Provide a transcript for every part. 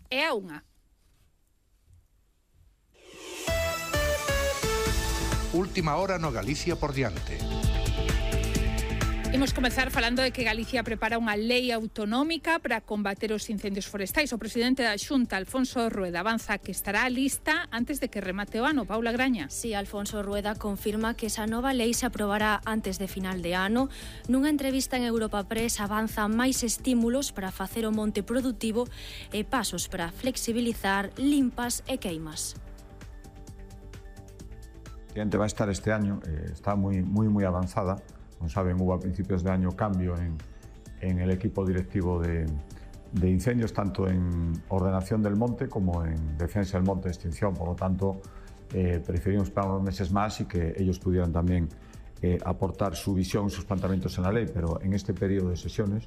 e a 1. Última hora no Galicia por diante. Imos comezar falando de que Galicia prepara unha lei autonómica para combater os incendios forestais. O presidente da Xunta, Alfonso Rueda, avanza que estará lista antes de que remate o ano. Paula Graña. Sí, Alfonso Rueda confirma que esa nova lei se aprobará antes de final de ano. Nunha entrevista en Europa Press avanza máis estímulos para facer o monte productivo e pasos para flexibilizar limpas e queimas. Va a estar este año, está muy avanzada. Como saben, hubo a principios de año cambio en el equipo directivo de incendios, tanto en ordenación del monte como en defensa del monte de extinción. Por lo tanto, preferimos esperar unos meses más y que ellos pudieran también aportar su visión, sus planteamientos en la ley. Pero en este periodo de sesiones,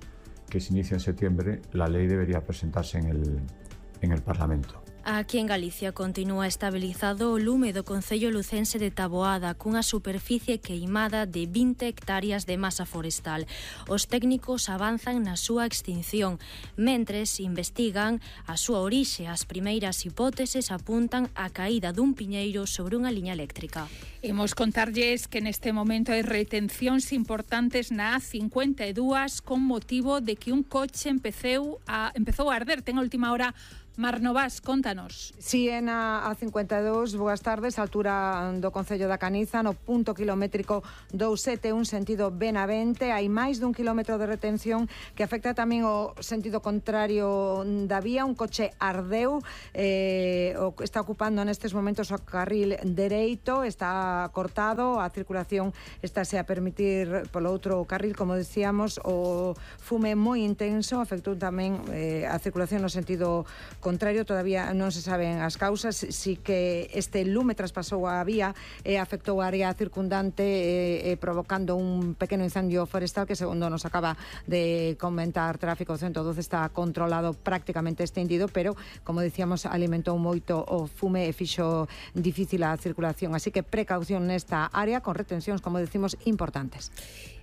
que se inicia en septiembre, la ley debería presentarse en el Parlamento. Aquí en Galicia continúa estabilizado o lume do concello lucense de Taboada cunha superficie queimada de 20 hectáreas de masa forestal. Os técnicos avanzan na súa extinción, mentres investigan a súa orixe. As primeiras hipóteses apuntan a caída dun piñeiro sobre unha liña eléctrica. Imos contarlles que neste momento hai retencións importantes na A52 con motivo de que un coche empezou a arder. Ten a última hora Mar Novas, contanos. Si, en a A52, boas tardes, altura do Concello da Caniza, no punto kilométrico 271, sentido Benavente, hai máis dun kilómetro de retención que afecta tamén o sentido contrario da vía. Un coche ardeu, está ocupando nestes momentos o carril dereito, está cortado, a circulación estáse a permitir polo outro carril, como decíamos. O fume moi intenso afectou tamén a circulación no sentido contrario. Todavía non se saben as causas, si que este lume traspasou a vía e afectou a área circundante, provocando un pequeno incendio forestal que, segundo nos acaba de comentar Tráfico 112, está controlado, prácticamente extinguido, pero, como decíamos, alimentou moito o fume e fixo difícil a circulación. Así que precaución nesta área, con retencións, como decimos, importantes.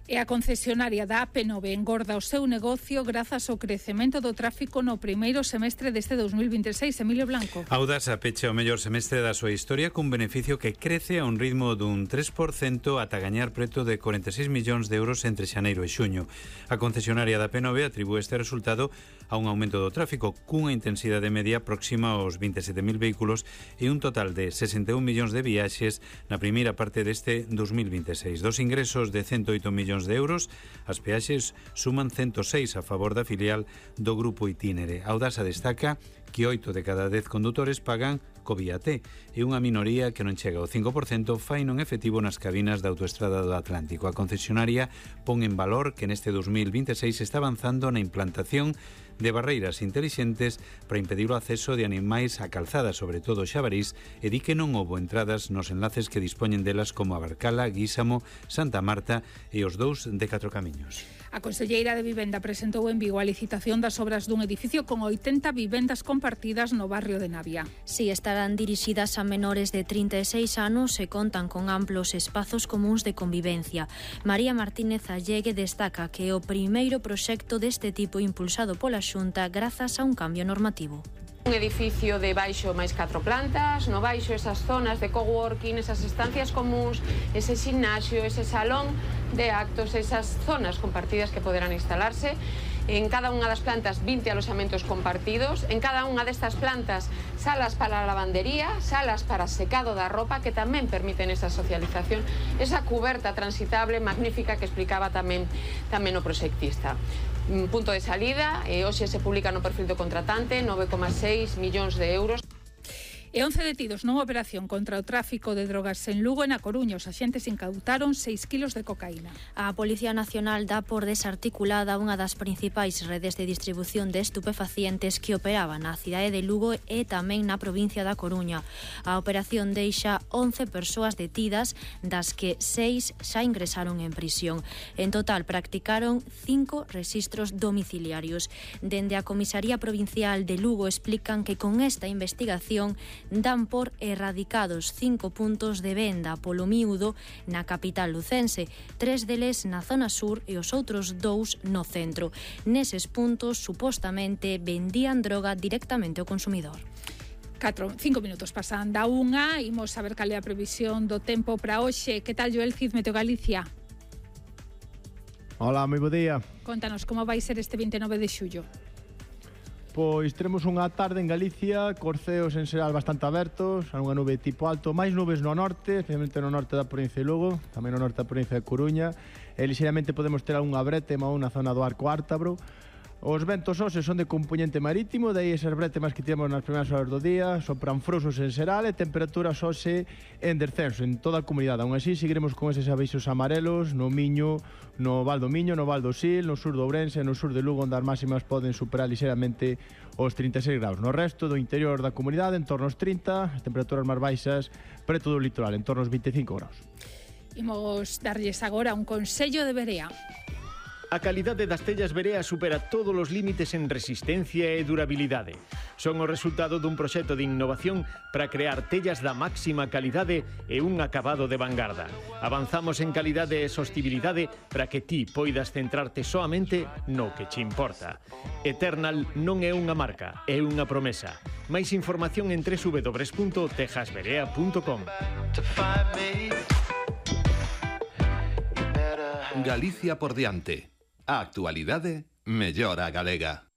E a concesionaria da AP9 engorda o seu negocio grazas ao crecemento do tráfico no primeiro semestre deste 2026. Emilio Blanco. Audasa pecha o mellor semestre da súa historia cun beneficio que crece a un ritmo dun 3% ata gañar preto de 46 millóns de euros entre xaneiro e xuño. A concesionaria da AP9 atribúe este resultado a un aumento do tráfico cunha intensidade media próxima aos 27.000 vehículos e un total de 61 millóns de viaxes na primeira parte deste 2026. Dos ingresos de 108 millóns de euros, as peaxes suman 106 a favor da filial do Grupo Itinere. Audasa destaca que 8 de cada 10 condutores pagan co vía T e unha minoría que non chega ao 5% fai non efectivo nas cabinas da autoestrada do Atlántico. A concesionaria pon en valor que neste 2026 está avanzando na implantación de barreiras intelixentes para impedir o acceso de animais a calzada, sobre todo xabarís, e di que non houbo entradas nos enlaces que dispoñen delas como a Barcala, Guísamo, Santa Marta e os dous de Catro Camiños. A Conselleira de Vivenda presentou en Vigo a licitación das obras dun edificio con 80 vivendas compartidas no barrio de Navia. Si, estarán dirixidas a menores de 36 anos e contan con amplos espazos comuns de convivencia. María Martínez Allegue destaca que é o primeiro proxecto deste tipo impulsado pola Xunta grazas a un cambio normativo. Un edificio de baixo máis 4 plantas, no baixo esas zonas de coworking, esas estancias comuns, ese ximnasio, ese salón de actos, esas zonas compartidas que poderán instalarse. En cada unha das plantas 20 aloxamentos compartidos, en cada unha destas plantas salas para a lavandería, salas para secado da ropa que tamén permiten esa socialización, esa cuberta transitable magnífica que explicaba tamén o proxectista. Punto de salida, hoxe se publica no perfil do contratante, 9,6 millóns de euros. E 11 detidos nunha operación contra o tráfico de drogas en Lugo e na Coruña. Os axentes incautaron 6 kilos de cocaína. A Policía Nacional dá por desarticulada unha das principais redes de distribución de estupefacientes que operaban na cidade de Lugo e tamén na provincia da Coruña. A operación deixa 11 persoas detidas, das que 6 xa ingresaron en prisión. En total practicaron 5 rexistros domiciliarios. Dende a Comisaría Provincial de Lugo explican que con esta investigación dan por erradicados 5 puntos de venda polo miúdo na capital lucense, 3 deles na zona sur e os outros 2 no centro. Neses puntos, supostamente, vendían droga directamente ao consumidor. 5 minutos pasan da unha, imos saber cal é a previsión do tempo para hoxe. Que tal, Joel Cid, Meteo Galicia? Hola, moi bo día. Contanos como vai ser este 29 de xullo. Pois teremos unha tarde en Galicia, cos ceos en xeral bastante abertos, unha nube tipo alto, máis nubes no norte, especialmente no norte da provincia de Lugo, tamén no norte da provincia de Coruña, e lixeiramente podemos ter algunha brétema ou na zona do Arco Ártabro. Os ventos hoxe son de componente marítimo, daí esas brétemas que temos nas primeiras horas do día, sopran frouxos en xeral e temperaturas hoxe en descenso en toda a comunidade. Aún así, seguiremos con eses avisos amarelos no Miño, no Val do Miño, no Val do Sil, no sur do Ourense, no sur de Lugo, onde as máximas poden superar lixeiramente os 36 graus. No resto do interior da comunidade, en torno aos 30, as temperaturas máis baixas preto do litoral, en torno aos 25 graus. Imos darlles agora un consello de Berea. A calidade das tellas Berea supera todos os límites en resistencia e durabilidade. Son o resultado dun proxecto de innovación para crear tellas da máxima calidade e un acabado de vanguarda. Avanzamos en calidade e sostibilidade para que ti poidas centrarte soamente no que che importa. Eternal non é unha marca, é unha promesa. Máis información en www.tejasberea.com. Galicia por diante. A actualidade mellora a galega.